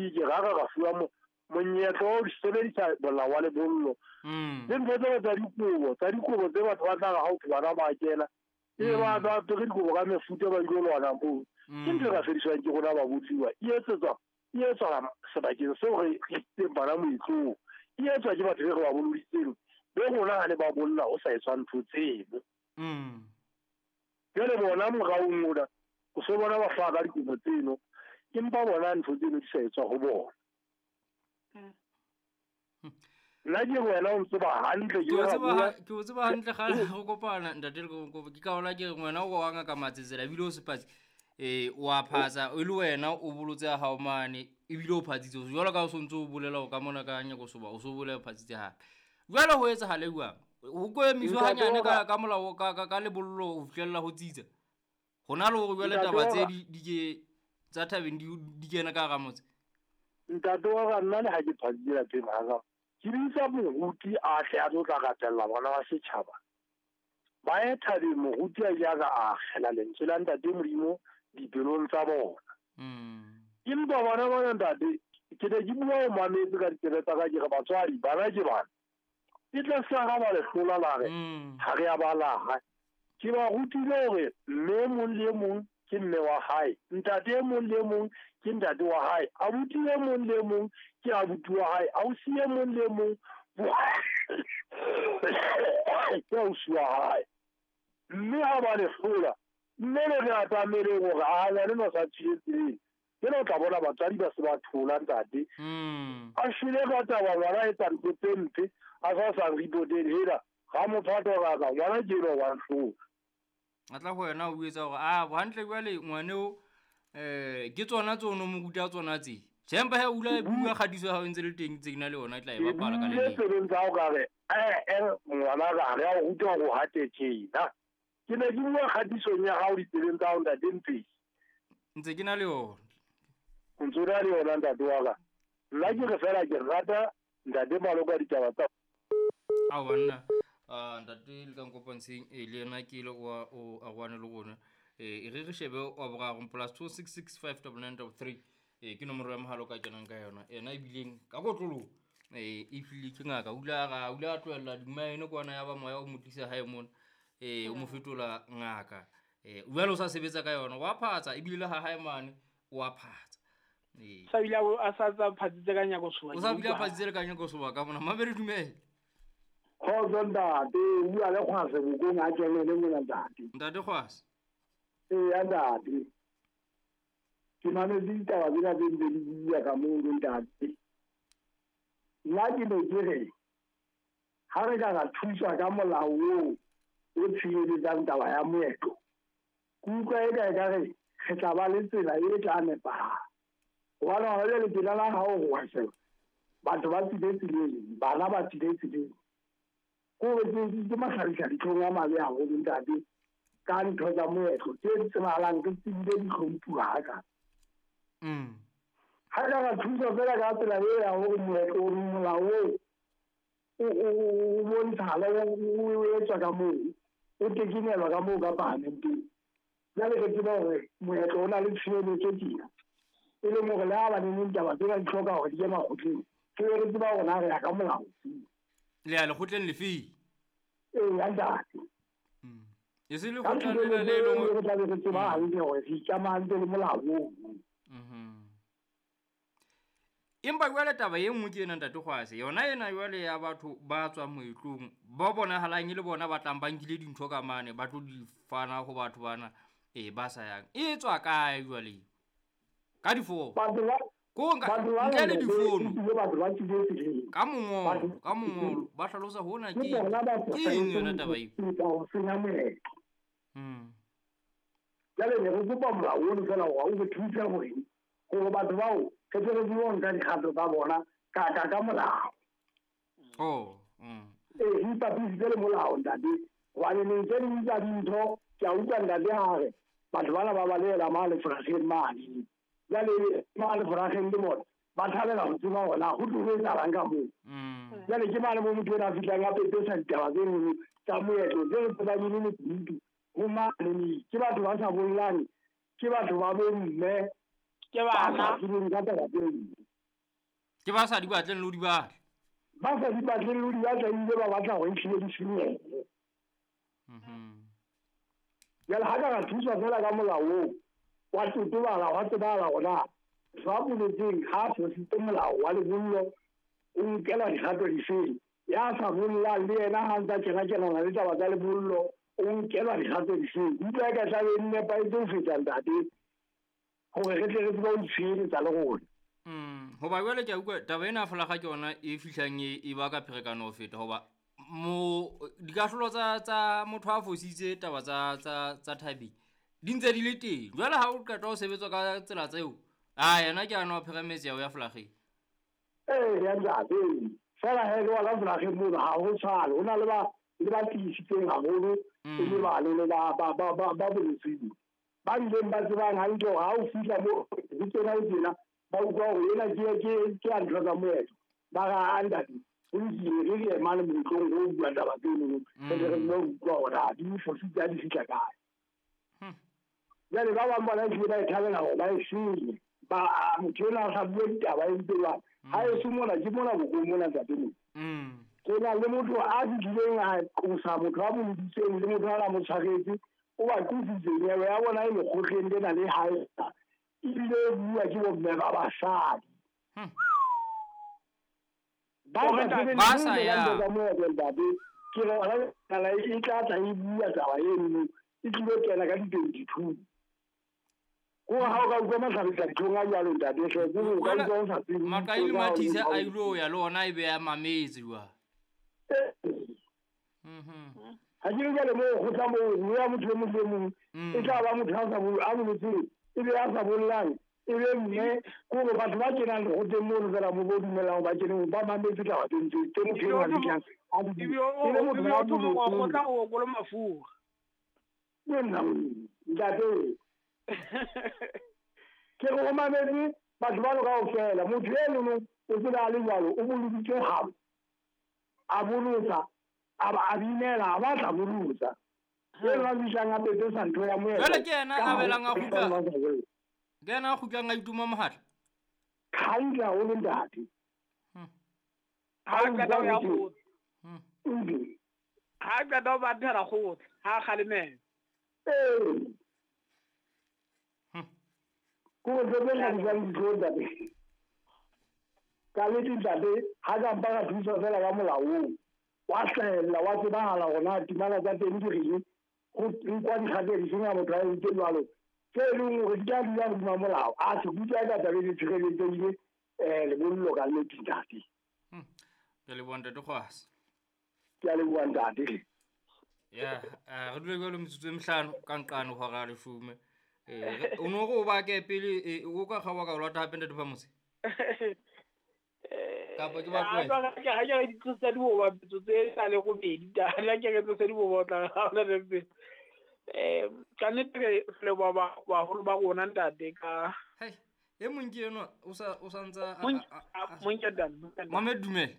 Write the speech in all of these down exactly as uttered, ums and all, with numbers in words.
dipolotiki ga ga ga fuwa monyetla o sebedisa molao wa lebollo. Le ntho tse tsa dikobo tsa dikobo tse batho ba tla ga o bana ba kena e ba ba apere dikobo ka mefuta ba ilo lwana moo. Ke ntho e ka fediswang ke rona ba botliwa e etsetswa e etswa sebakeng seo re isitseng bana moetlong, e etswa ke batho be re ba boloditseng be rona ha ne ba bolla o sa etswa ntho tseno. Jwale bona moraong ona o so bona ba hlaha ka dikobo tseno, empa bona ntho tseno di sa etswa ho bona. Nna ke wena o ntseba hantle, ke o tseba hantle kgale go kopana ntate le ke ka ona ke re ngwana o wa ngaka Matsetsela ebile o sepatsi eh wa phatsa e le wena o bolotse ya hao mane ebile o phatsitse jwalo ka o sontse o bolela o ka mona ka nyako soba o so bolela o phatsitse hape. Jwale ho etsahala jwang? Ho ko emiswa hanyane ka ka molao ka ka lebollo ho fihlella ho tsitsa. Hona le hore jwale taba tse di di ke tsa thabeng di di kena ka hara motse. Ntate wa ka nna le ha ke phatsitse lapeng ha ka ke bitsa moruti a tle a tlo tla rapella bana ba setjhaba. Ba ye thabeng moruti a ile a ka akgela lentswe la ntate Modimo dipelong tsa bona. Empa bona bona ntate ke ne ke bua o mametse ka ditsebe tsa ka ke re batswadi bana ke bana. E tla sa ga ba le hlola la re ha re a ba laha. Ke ba rutile hore mme mong le mong ke mme wa hae, ntate e mong le mong ke ntate wa hae, abuti e mong le mong ke abuti wa hae, ausi e mong le mong ke ausi wa hae. Mme ha ba le hlola mme le re atamele hore a ngwane no sa tswile tseleng, ke no tla bona batswadi ba se ba thola ntate. A shwele ka taba ngwana etsa ntho tse mpe a sa sa reportele hela ga mophato ga ka ngwana ke eno wa hlola. A tla ho wena o etsa hore a hantle jwale ngwane o eh ke tsona tse o no mo ruta tsona tse. Jempa he o la bua kgatiso ya hao ntse le teng tse ke na le yona e tla e bapala ka le leng. Ke tsa o ka re eh eh ngwana ga re a o ruta hore hate tjena. Ke ne ke bua kgatisong ya hao ditsebeng tsa hao ntate Mpesi. Ntse ke na le yona. O ntse o na le yona ntate wa ka. Nna ke re fela ke rata ntate Maloka ditaba tsa Ao banna ah ntate le ka nkopanseng e le yena ke ile wa o a rwane le rona eh e re re shebe wa boraro plus two six six five nine nine three eh ke nomoro ya mohalo ka kenang ka yona ena ebileng ka kotlolo eh e file ke ngaka o ile a o ile a tlohella dimaene kwana ya ba moya o mo tlisa hae mona eh o mo fetola ngaka eh o jwale o sa sebetsa ka yona wa phatsa ebile le ha hae mane wa phatsa eh sa bile a sa tsa phatsitse ka nyako soba o sa bile a phatsitse ka nyako soba ka mona mabere dumela. Kgotso ntate, o bua le Kgwase bokong a kelele mona ntate. Ntate Kgwase. Eya ntate. Ke mametse ditaba tsena tse ntse di bua ka moo ntate. Nna ke ne ke re ha re ka ra thuswa ka molao oo o tshireletsang taba ya moetlo, ke utlwa eka ekare re tla ba le tsela e tla nepahala. Hobane hona jwale tsela la hao ho wa sheba, batho ba tswile tseleng, bana ba tswile tseleng. Ko ke ke mahlabisa ditlhong a mabe haholo ntate ka ntho tsa moetlo tse tsebahalang ke tsebile di hlomphuwa haka. Mm. Ha ka ra thusa fela ka tsela e ya hore moetlo o molao o o bontshala o etswa ka moo o tekenelwa ka moo ka parlamenteng. Jwale re tseba hore moetlo o na le tshireletso tjena e leng hore le ha ba neng ditaba tsena di hloka hore di ye makgotleng, ke re tseba hore na re ya ka molao. Le ya lekgotleng lefe? Ee, ntate. Mm. E se lekgotla lena le leng re tla be re tseba hantle hore re ikamahantse le molao oo. Mhm. Empa jwale taba e nngwe ke ena ntate Kgwase, yona ena jwale ya batho ba tswang moetlong ba bonahalang e le bona ba tlang ba nkile dintho ka mane ba tlo di fana ho batho bana eh ba sa yang. E tswa kae jwale? Ka difono. Batho ba Ko nka ntle le difono. Batho ba tswile tseleng. Ka mongolo, ka mongolo ba hlalosa hona ke ke eng yona taba eo? Ke ho senya moetlo. Mm. Jwale ne re kopa molao ono fela hore o re thuse hore hore batho bao re tle re tsebe ho nka dikgato tsa bona ka ka ka molao. Oh, mm. Ee, re ipapisitse le molao ntate. Hobane neng tse ding tsa dintho ke a utlwa ntate ha re batho bana ba balehela mane leforageng mane. Jwale mane leforageng le bona ba thabela ho tseba hore na ho tlo ho etsahalang ka moo. Mm. Jwale ke mane moo motho ena a fihlang a pepesa ditaba tse nngwe tsa moetlo tse re tsebang e le lekunutu ho mane. Ke batho ba sa bollang, ke batho ba bomme, ke bana ba tsebeng ka taba tse nngwe. Ke ba sa di batleng le ho di batla. Ba sa di batleng le ho di batla ebile ba batla hore ehlile di senyehe. Mhm. Jwale ha ka ra thuswa fela ka molao oo, wa totobala, wa tsebahala hore na motho a boletseng ha a fositse molao wa lebollo o nkelwa dikgato difeng. Ya sa bollang le yena ha ntsa kena-kenana le taba tsa lebollo o nkelwa dikgato difeng. Ke utlwa eka tlabe e nepahetse ho feta ntate hore re tle re tsebe ho itshireletsa le rona. Mm, hoba jwale ke a utlwa taba ena ya folakga ke yona e fihlang e e baka pherekano ho feta hoba mo dikahlolo tsa tsa motho a fositse taba tsa tsa tsa thabeng di ntse di le teng. Jwale ha o qeta ho sebetswa ka tsela tseo, a yena ke ano a pheremetse ya ho ya folakgeng. Ee, ya ntate. Fela he le wona folakgeng mono ha ho tshwane. Ho na le ba le ba tiisitseng haholo e le bane le ba ba ba ba ba boletseng. Ba bileng ba tsebang hantle hore ha o fihla moo ho tsena ho tjena ba utlwa hore ena ke ke ke ya ntho tsa moetlo. Ba re a ntate ho lokile re re emane moletlong o bua taba tseno re tle re tsebe ho utlwa hore ha di fositse ha di fihla kae. Jwale ba bang bona ehlile ba e thabela hore ba e senye. Ba motho enwa a sa bue ditaba e ntse jwang. Ha eso mona ke mona bokong mona ntate mona. Ke na le motho a fihlileng a qosa motho a boloditseng le motho a na mo tshwaretse o ba qositse nyewe ya bona e lekgotleng lena le hae ebile e bua ke bomme ba basadi. Ba Ba sa yang. Ntate ke re hona e tla tla e bua taba eno e tlilo kena ka di-twenty-two. Ko ha o ka utlwa mahlabisa dihlong a jwalo ntate hle, ke hore o ka utlwa o sa tsebe Maqai le Mathise a ilo ya le ona e be a mametse jwale. Mhm. Ha ke re jwale moo kgotla moo mme ya motho e mong le mong e tla ba motho a sa bo- a boletseng e be a sa bollang e be mme ke hore batho ba kenang lekgotleng mono fela mo bo dumelang hore ba kene ba mametse taba tse ntse tse motho enwa a fihlang a di Ebile bua. o E le motho ebile a o thoma wa boletseng. kgotla o okole mafura. Ke nna ntate. Ke re o mametse batho bano kaofela. Motho enono o tsebe a le jwalo o boloditse habo. A bolotsa, a ba a binela, a batla bolotsa. Eno a fihlang a pepesa ntho ya moetlo. Jwale ke yena Ka a hare belang a ho kgutla. ba sa bolle. Ke yena a kgutlang a ituma mohatla. Hantle haholo ntate. Ha a qeta ho ya kgotla. Mm. Ha a qeta ho bathela kgotla, ha a kgalemela. Ee. Ke hore ntho tse hlabisang dihlong ntate. Ka nnete ntate ha ka mpa ka thuswa fela ka molao oo, wa hlahella wa tsebahala hore na timana tsa teng di reng, ho nkwa dikgato difeng ha motho a entse jwalo. Tse leng hore di tla dula hodima molao. A se kutlwa eka taba e tshireletsehile eh lebollo ka nnete ntate. Ke leboha ntate Kgwasa. Ke a leboha ntate. Ya, re dule jwalo metsotso e mehlano ka nqane hora ya leshome. Eh o no re o bake pele o ka kgaoha ka o lata hape ntate Phamotse? Kapa ke ba Ha tlohele? ke ha ke re di tlosa diboba metsotso e sa le robedi ta. Ha ke re tlosa diboba o tla haola le pele. Eh ka nnete re leboha ba baholo ba rona ntate ka Hei, e mong ke enwa o sa o sa ntsa Mong mong ke dan. Mohammed dumela.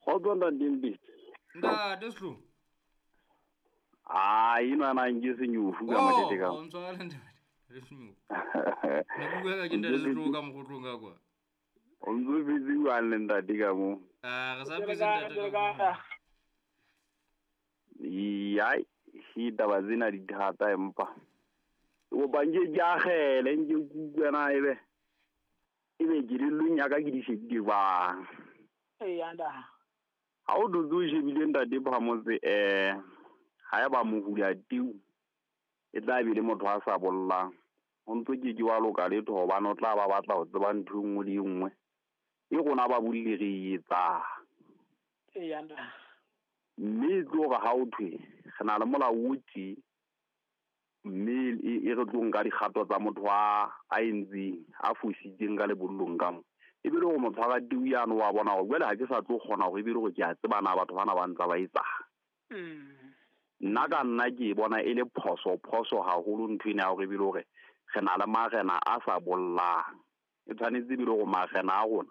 Kgotso ntate Mpetsi. Ntate Sehloho. Ah, enwa na nke senyofu ka mokete ka. Oh, o ntshwarele ntate. Le senyofu. Ne ke bua ka ke ntate Sehloho ka mokotlong ka kwa. O ntso phetse jwang le ntate ka moo? Ah, re sa phetse ntate ka moo. Ai, ditaba tsena di thata empa. Kopa nke ke akgele, nke ke utlwe na ebe. Ebe kelellong ya ka ke di shebile jwang. Eya nda. Ha o dutse o shebile ntate Phamotse, eh ha eba mohula teu e tla be le motho a sa bollang. O ntso ke ke wa loka letho hobane o tla ba batla ho tseba ntho e nngwe le e nngwe e rona ba bolle re e etsang. Eya nda. Mme e tlo re ha o thwe re na le molao o tje mme e re tlo nka dikgato tsa motho a a entseng a fositseng ka lebollong ka mo. E be le hore motho a teu yane wa bona hore jwale ha ke sa tlo kgona hore e be le hore ke a tseba na batho bana ba ntse ba etsang. Nna ka nna ke e bona e le phoso phoso haholo ntho ena ya hore e be le hore re na le marena a sa bollang. E tshwanetse e be le hore marena a rona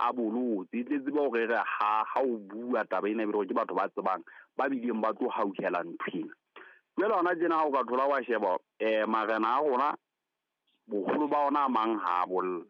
a bolotse. E tle tsebe hore re ha ha o bua taba ena e be le hore ke batho ba tsebang ba bileng ba tlo hauhela ntho ena. Jwale hona tjena ha o ka thola wa sheba eh marena a rona boholo ba ona a mang ha a bolla.